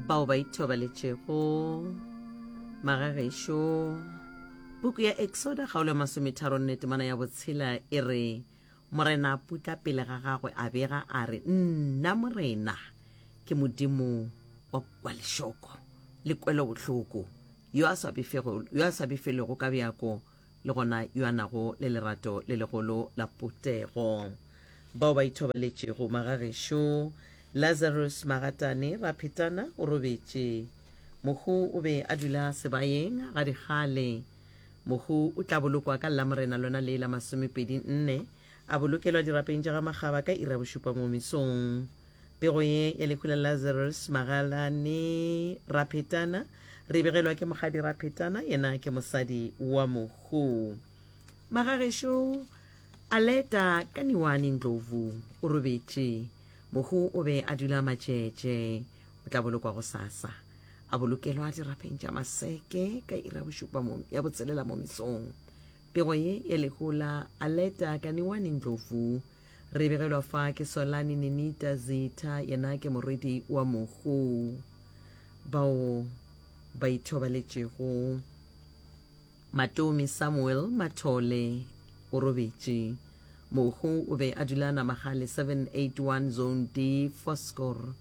Bao ba ithobaletšego magagešo, puku ya Exoda kgaolo ya masometharonne temana ya botshela e re, Morena a putla pele ga gagwe a bega a re, Nna Morena ke Modimo wa, wa lešoko le kwelobohloko, yo a sa befego, yo a sa befelego ka bjako le gona yo a nago le lerato le legolo la potego. Bao ba ithobaletšego magagešo, Lazarus Magatane Raphetana o robetše. Mohu o be a dula sebayeng ga dikgale. Mohu o tla bolokwa ka Lamorena lona le la masomepedi nne, a bolokelwa dirapeng tša ga Makgaba ka iri ya bošupa mo mesong. Pego ye ya lehu la Lazarus Magalane Raphetana re e begelwa ke Mokgadi Raphetana, yena ke mosadi wa mohu. Magagešo Aleta Kaniwane Ndlovu o robetše. Mohu o be a dula Matšetše. O tla bolokwa gosasa. A bolokelwa dirapeng tša Maseke ka iri ya bošupa mo, ya botshelela mo mesong. Pego ye ya lehu la Aleta Kaniwane Ndlovu Re begelwa fa ke Solani Nenita Zitha, yena ke morwedi wa mohu. Bao ba ithobaletšego Matomi Samuel Mathole o robetše. Mohu o be a dula Namagale 781 Zone D, Foskor.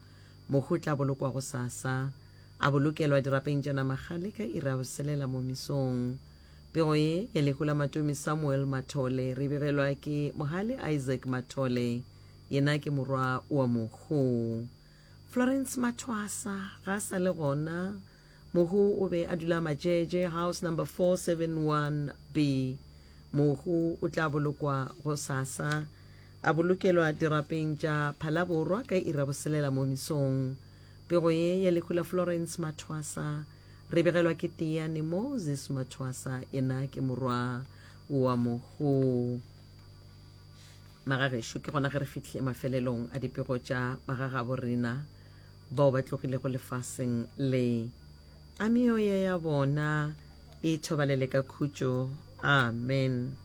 Mohu o tla bolokwa gosasa, a bolokelwa dirapeng tša Namagale ka iri ya boselela mo mesong. Pego ye ya lehu la Matomi Samuel Mathole re begelwa ke Mohale Isaac Mathole, yena ke morwa wa mohu. Florence Mathwasa ga a sa le gona. Mohu o be a dula Majeje, house number 471B. Mohu o tla bolokwa gosasa, a bolokelwa dirapeng tša Phalaborwa ka iri ya boselela mo mesong. Pego ye ya lehu la Florence Mathwasa Re begelwa ke Tiyani Moses Mathwasa, yena ke morwa wa mohu. Magagešo, ke gona ge re fihlile mafelelong a dipego tša magagabo rena bao ba tlogilego lefaseng le. A meoya ya bona e thobalele ka khutšo. Amen.